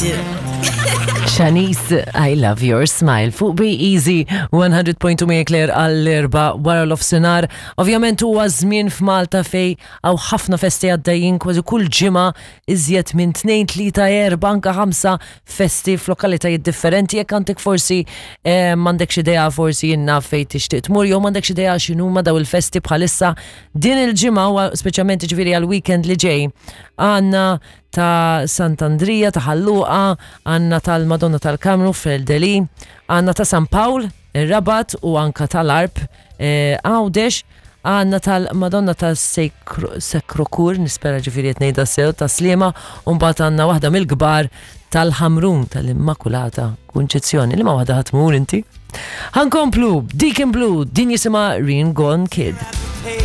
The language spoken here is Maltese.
do. Shanice, I love your smile. Fuq Be Easy 100.2 Mia Claire għall-erba wara l-ofsinar. Ovvjament huwa żmien f'Malta fej hawn ħafna festi għaddejjin kważi kull ġimgħa iżjed minn 2, 3, 4, anka 5 festi f'lokalitajiet differenti. Jekk għandek forsi eh, m'għandekx idea forsi jinnna fej tixtieq tmur jew m'għandekx idea x'inhuma daw il-festi bħalissa din il-ġimgħa u speċjalment ġifieri għall-weekend li ġej għandna ta' Sant'Andrija, ta' Ħal Luqa, għandna tal-Madonna tal-Kamru fil-Deli, għandna ta' San Pawl, ir-Rabat u anka tal-Arp eh, Għawdex, għandna tal-Madonna ta' Sekrokur, nispera ġifieri qed ngħidha sew, ta' Sliema, u mbagħad għandna waħda mill-kbar tal-Ħamrun tal-Immakulata Kunċizzjoni. Liema waħda ħa tmur inti? Ħankomplu, Deacon Blue, din jisimha Ringon Kid.